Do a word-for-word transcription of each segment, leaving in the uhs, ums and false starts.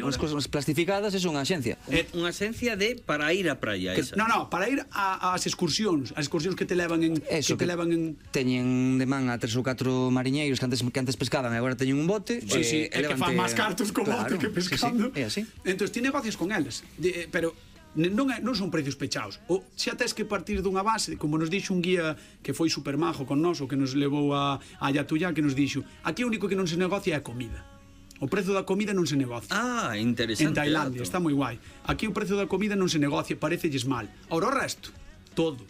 as cousas plastificadas, é unha axencia. É unha axencia de para ir á praia esa. No, no, para ir ás excursións, as excursións que te levan en Eso, que te levan en teñen de man a tres ou catro mariñeiros que antes que antes pescaban e agora teñen un bote. Sí, sí, é que fan máis cartos co bote que pescando. É así. Entón, ti negocias con eles, pero non, é, non son precios pechados. O xa tes que partir dunha base, como nos dixo un guía que foi super majo con nós, o que nos levou a, a Yatuya, que nos dixo, aquí o único que non se negocia é a comida. O prezo da comida non se negocia. Ah, interesante. En Tailandia, dato. está moi guai. Aquí o prezo da comida non se negocia, parecelles mal. Ahora o resto, todo.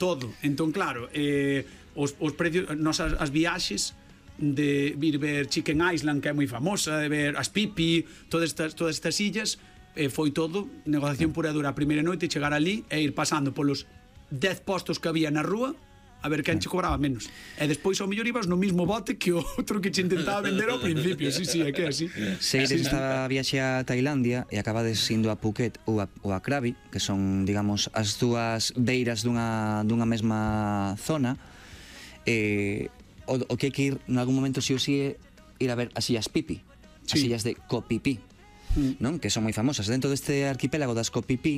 Todo. Entón, claro, eh, os, os precios, nos as, as viaxes de vir ver Chicken Island, que é moi famosa, de ver as Pipi, todas estas, todas estas illas, eh, foi todo negociación pura e dura a primeira noite, chegar ali e ir pasando polos dez postos que había na rúa a ver quen che cobraba menos. E despois ao mellor ibas no mismo bote que o outro que che intentaba vender ao principio. Sí, sí, é que é así. Se ides esta viaxe a Tailandia e acabades indo a Phuket ou a, ou a Krabi, que son, digamos, as dúas beiras dunha, dunha mesma zona, eh, o, o que hai que ir en algún momento si ou si é ir a ver as illas Pipi, as Sí. illas de Koh Phi Phi, non? Que son moi famosas. Dentro deste arquipélago das Koh Phi Phi,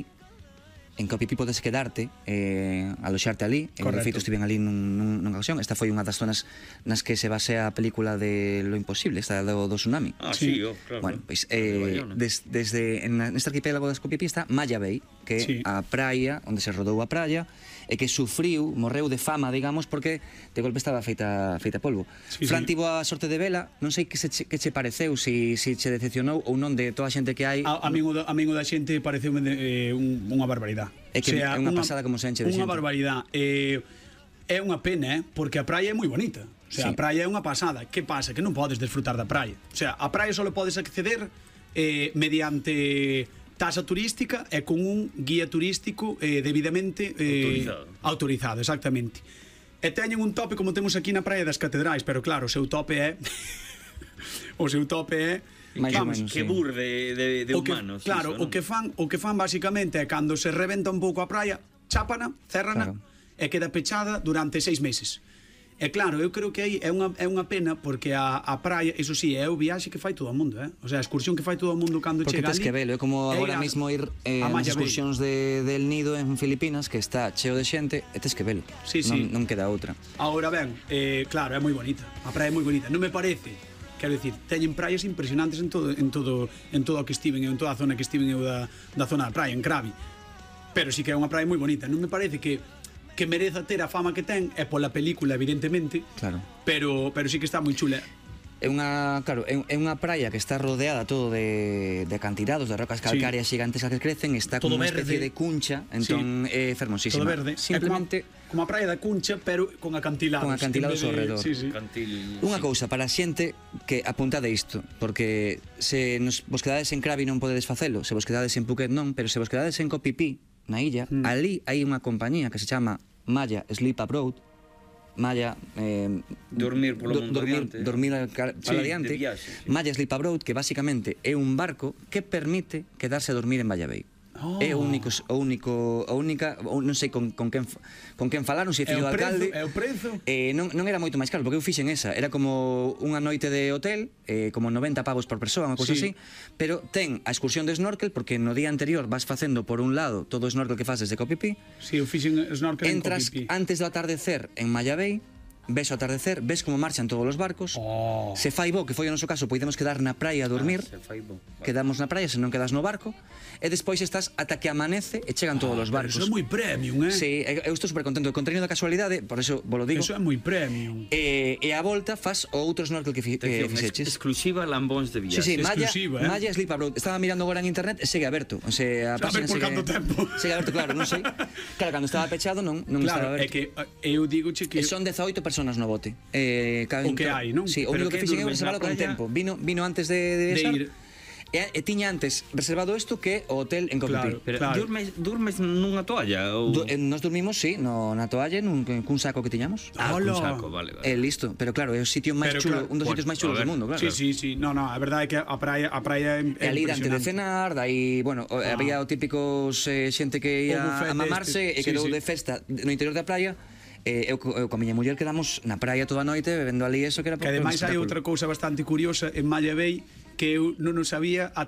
en Koh Phi Phi podes quedarte, eh, aloxarte ali. En Correcto. feito, estiven ali nun, nun, nunha ocasión. Esta foi unha das zonas nas que se basea a película de Lo Imposible, esta do, do tsunami. Ah, sí, oh, claro. Bueno, pois eh, des, desde en, neste arquipélago das Koh Phi Phi está Maya Bay, que é Sí. a praia onde se rodou a praia e que sufriu, morreu de fama, digamos, porque de golpe estaba feita feita polvo. Sí, Fran sí. tivo a sorte de vela, non sei que se che, que che pareceu, si si che decepcionou ou non de toda a xente que hai. A, a min o da, a min o da xente pareceume de, eh, un, unha barbaridade. É que é unha pasada como se enche de Unha xente. barbaridade. Eh, é unha pena, eh, porque a praia é moi bonita. O sea, Sí. a praia é unha pasada. Que pasa? Que non podes desfrutar da praia. O sea, a praia só podes acceder eh, mediante tasa turística e con un guía turístico eh, debidamente eh, Autorizado. autorizado, exactamente. E teñen un tope como temos aquí na praia das Catedrais, pero claro, o seu tope é o seu tope é Mais ou vamos, menos, Que sí. bur de, de, de o que, humanos. claro, iso, o non? que fan, o que fan basicamente é cando se reventa un pouco a praia, chápana, cérrana, Claro. e queda pechada durante seis meses. E claro, eu creo que aí é unha, é unha pena porque a, a praia, iso sí, é o viaxe que fai todo o mundo, eh? O sea, a excursión que fai todo o mundo cando Porque chega tes ali. que velo, é como é agora ir a- mismo ir eh, a nas Maya Bay. excursións de, del Nido en Filipinas, que está cheo de xente, e tes que velo. Sí, non, sí. non queda outra. Agora ben, eh, claro, é moi bonita. A praia é moi bonita. Non me parece, quero dicir, teñen praias impresionantes en todo en todo en todo o que estiven, en toda a zona que estiven eu da, da zona da praia, en Krabi. Pero sí que é unha praia moi bonita. Non me parece que que mereza ter a fama que ten é pola película, evidentemente. Claro. Pero pero sí que está moi chula. É unha, claro, é, é unha praia que está rodeada todo de, de acantilados, de rocas calcáreas sí. gigantes que crecen, está Todo como unha especie verde. de cuncha, entón Sí. é fermosísima. Todo verde. Simplemente É como, como a praia da Cuncha, pero con acantilados. Con acantilados en vez de- ao redor. Sí, sí. Cantil, unha sí. cousa para a xente que apuntade isto, porque se nos vos quedades en Krabi non podedes facelo, se vos quedades en Phuket non, pero se vos quedades en Koh Phi Phi, na illa, Mm. ali hai unha compañía que se chama Maya Sleep Abroad. Maya eh, Dormir polo mundo dormir, adiante. dormir al- para Sí, adiante. de viaxe, sí. Maya Sleep Abroad, que basicamente é un barco que permite quedarse a dormir en Maya Bay. Oh. É o único o único a única, ou non sei con con quen con quen falaron, se É fillo o do prezo, alcalde. é o prezo. Eh, non, non era moito máis caro, porque eu fixen esa. Era como unha noite de hotel, eh, como noventa pavos por persoa, unha cousa Sí. así. Pero ten a excursión de snorkel, porque no día anterior vas facendo por un lado todo o snorkel que fas desde Koh Phi Phi. Si, sí, eu fixen snorkel en Entras Koh Phi Phi. antes do atardecer en Maya Bay, ves o atardecer, ves como marchan todos os barcos. Oh. Se fai bo, que foi o noso caso, podemos quedar na praia a dormir. Ah, se fai bo. Vale. Quedamos na praia, se non quedas no barco. E despois estás ata que amanece e chegan todos os Pero barcos. Eso é moi premium, eh? Sí, eu estou super contento. Con treino da casualidade, por eso vos lo digo. Eso é moi premium. E, e a volta fas o outro snorkel que, fi, que Atención, fixeches. ex- exclusiva Lambóns de Sí, viaxe. sí, Maya, exclusiva, eh. Maya Sleep Abroad. Estaba mirando agora en internet e segue aberto. O sea, a Sabe página por segue, canto tempo. segue aberto, claro, non sei. Claro, cando estaba pechado non, non Claro, estaba é aberto. que eh, eu digo che que E son dezaoito personas no bote. Eh, caben O que to- hai, non? Sí, o Pero único que que fixen é durmes reservalo na con praia? tempo. Vino vino antes de, de, De besar. ir. E, e tiña antes reservado isto que o hotel en Koh Phi Phi. Claro. Pero Claro. durmes, durmes nunha toalla ou Do, eh, nos dormimos, sí, no, na toalla, nun, cun saco que tiñamos. Ah, Hola. cun saco, vale, vale. E listo, pero claro, é o sitio máis Pero chulo, claro, un dos bueno, sitios máis a chulos ver. do mundo, claro. Sí, sí, sí. No, no, a verdade é que a praia a praia é, E é ali dante de impresionante. cenar, dai, bueno, o- Ah. había o típicos eh, xente que O ia buffet a mamarse deste, e sí, quedou sí. de festa no interior da praia. Eh, eu, co- eu con a miña muller quedamos na praia toda a noite bebendo ali eso que era Que ademais hai outra cousa bastante curiosa en Maya Bay que eu non o sabía ata